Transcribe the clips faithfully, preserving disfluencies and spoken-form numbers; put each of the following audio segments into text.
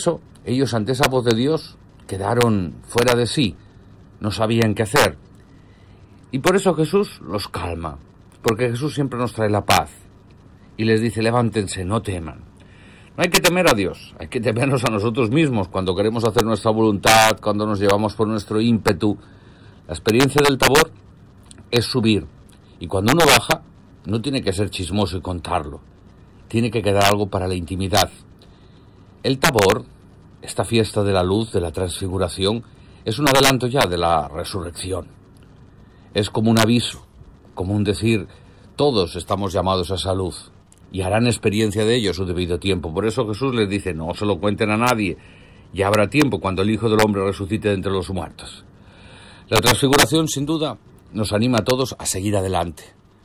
eso, ellos ante esa voz de Dios quedaron fuera de sí, no sabían qué hacer. Y por eso Jesús los calma, porque Jesús siempre nos trae la paz y les dice, levántense, no teman. No hay que temer a Dios, hay que temernos a nosotros mismos cuando queremos hacer nuestra voluntad, cuando nos llevamos por nuestro ímpetu. La experiencia del Tabor es subir y cuando uno baja no tiene que ser chismoso y contarlo, tiene que quedar algo para la intimidad. El Tabor, esta fiesta de la luz, de la transfiguración, es un adelanto ya de la resurrección. Es como un aviso, como un decir, todos estamos llamados a esa luz y harán experiencia de ello a su debido tiempo. Por eso Jesús les dice, no se lo cuenten a nadie, ya habrá tiempo cuando el Hijo del Hombre resucite de entre los muertos. La transfiguración, sin duda, nos anima a todos a seguir adelante,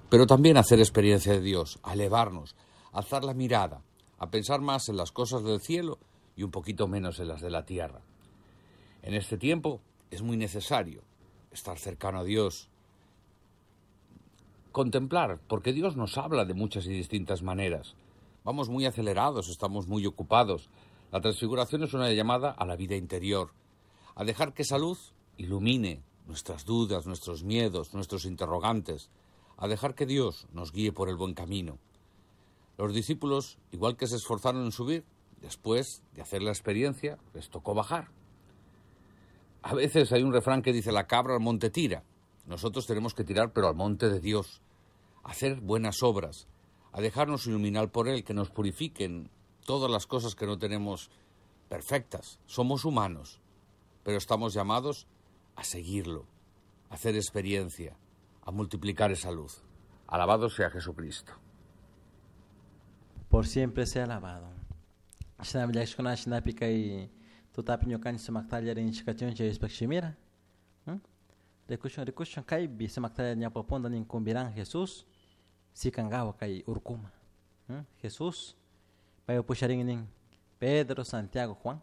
pero también a hacer experiencia de Dios, a elevarnos, a alzar la mirada, a pensar más en las cosas del cielo y un poquito menos en las de la tierra. En este tiempo es muy necesario estar cercano a Dios, contemplar, porque Dios nos habla de muchas y distintas maneras. Vamos muy acelerados, estamos muy ocupados. La transfiguración es una llamada a la vida interior, a dejar que esa luz ilumine nuestras dudas, nuestros miedos, nuestros interrogantes, a dejar que Dios nos guíe por el buen camino. Los discípulos, igual que se esforzaron en subir, después de hacer la experiencia, les tocó bajar. A veces hay un refrán que dice la cabra al monte tira. Nosotros tenemos que tirar, pero al monte de Dios, a hacer buenas obras, a dejarnos iluminar por Él, que nos purifiquen todas las cosas que no tenemos perfectas. Somos humanos, pero estamos llamados a seguirlo, a hacer experiencia, a multiplicar esa luz. Alabado sea Jesucristo. Por siempre sea alabado. Shinami llakishkuna shinapi kay tutapi ñukanchik sumaktalla rinchikachun Diospuk shimira. Rikushun rikushun kaypi sumaktalla ñawpa nin kumbiran Jesús sikankawa kay urkuma. Jesús pay pusharin nin Pedro, Santiago, Juan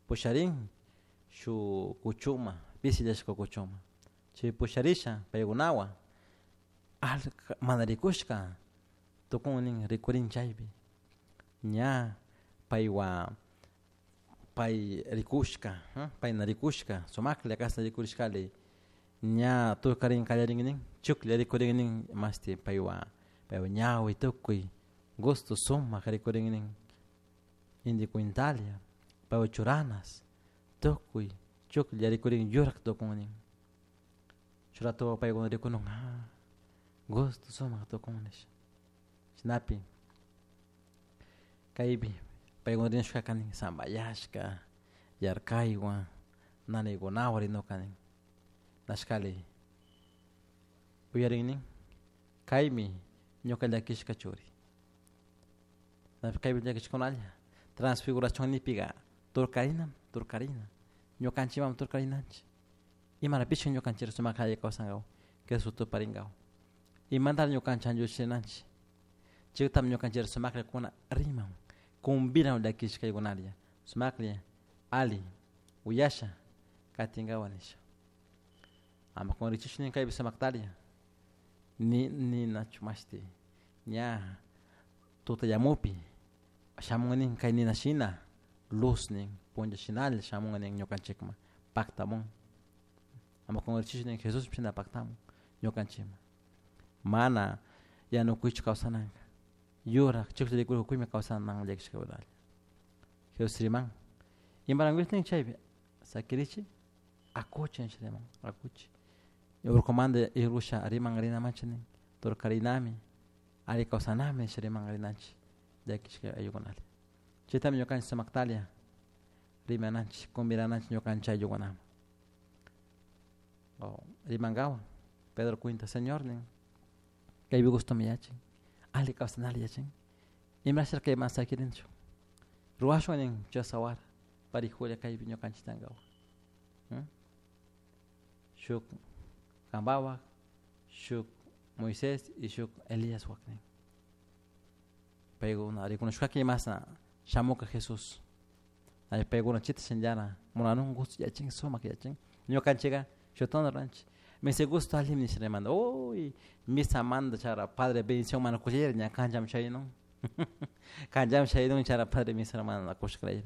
pusharin shu kuchuma pisillashka kuchuma chay pusharisha paykunawan mana rikushka tukun nin rikurin chaypi ña paywan pay rikushka payna rikushka sumaklla kashna rikurishkali ña tukarin kallarin nin chuklla rikurin nin mashti paywan paywan ñawi tukuy gusto sumak rikurin nin inti kwintalia paywan churanas tukuy chuklla rikurin yurak tukun nin churatuwa paykuna rikunun ah gusto sumak tukun nisha chashnapi kaypi paykuna rinashkaka nin sambayashka yarkaywan nanaykunawan rinuka nin nashkali uyarin nin kaymi ñuka llakishka churi kaypi llakishkunalla transfiguración nipika turkarina turkarina ñukanchikman turkarinanchik imarapish ñukanchik sumak alli kawsankawan Jesús tuparinkawan imantari ñukanchik anlluchinanchik chaytami ñukanchik sumaklla kuna riman kumbiran llakishkaykunalla sumaklla alli uyasha katinkawan nisha ama kunrichish nin kaypi sumaktalla ni ninachu mashti ña tutallamupi shamun nin kay nina shina luz nin punlla shinalla shamun nin ñukanchikman paktamun ama kunrichish nin Jesús shina paktamun ñukanchikman mana yanukuychu kawsananka yurak chuklla rikurkuymi kawsanan llakishkakunalla Jesús riman imarankush nin chaypi sakirichik akuchi nisha riman akuchi urkumanta irusha riman rinamanchik nin turkarinami alli kawsanami nisha riman rinanchik llakishka ayllukunalla chaytami ñukanchik sumaktalla rimananchik kumbirananchik ñukanchik ayllukunaman o rimankawan Pedro cuenta Señor nin kaypi gustomi yachin alli kawsanalla yachin imasha kayman sakirinchu ruwashun nin chasawara parijulla kaypi ñukanchik tankawan shuk kampawak shuk Moisés y shuk Elías wak nin paykuna rikunashkaka imashna shamuka Jesús paykuna chita shinallara munanun gusto yachin sumak yachin ñukanchika shutana ruranchik misa gusto allimi nisha rimanta uy misamanta chara padre bendición mana kushayara ña kanchaman shaynun kanchaman shaynun chara padre misa mana kushkarayra.